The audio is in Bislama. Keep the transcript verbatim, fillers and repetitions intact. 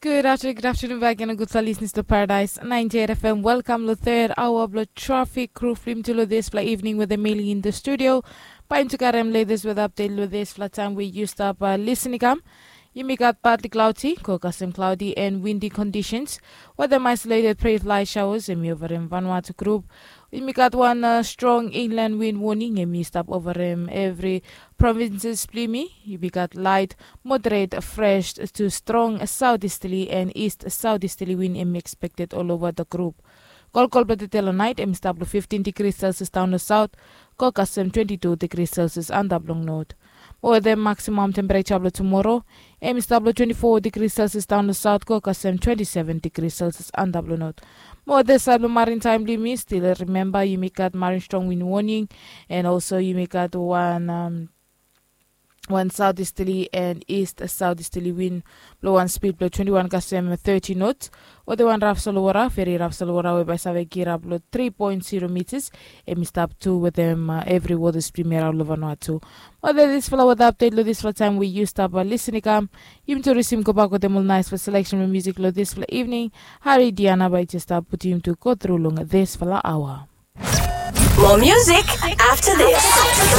Good afternoon, good afternoon back and a good fellow listeners to Paradise ninety-eight F M. Welcome to the third hour of the traffic crew film to this fly evening with Emily in the studio. Bae yumi tu karem latest weather update lo this fla taem we yu stap listening kam. Yumi gat partly cloudy, go kasem cloudy and windy conditions. Wetem isolated prey fly showers em i overem Vanuatu group. Yumi gat wan strong inland wind warning em i stap overem evri provinces blong yumi. Yumi gat light, moderate, fresh to strong southeasterly and east southeasterly wind em i expected all over the group. Kolkol blong tede lo naet em i stap lo fifteen degrees Celsius daon lo south, go kasem twenty-two degrees Celsius antap long north. Mo wetem maximum temperature blong tumoro em i stap lo twenty-four degrees Celsius daon lo south, go kasem twenty-seven degrees Celsius antap lo north. Mo wetem saed blong marin taem blong yumi, still remember yumi gat marin strong wind warning, and also yumi gat wan wan southeasterly and east southeasterly wind blong wan speed blong twenty-one kasem thirty knots. Wetem wan raf solowora, veri raf solowora we bae save girap lo three point zero meters, em i stap tu wetem evri wota blong yumi araon lo Vanuatu. Wetem this fla weather update lo this fla taem we yu stap listening kam, yumi tu risim gobak wetem ol naes fla selection blong music lo this fla evening. Hari Diana bae jes stap putum yumi tu go tru long this fla aoa. More music after this.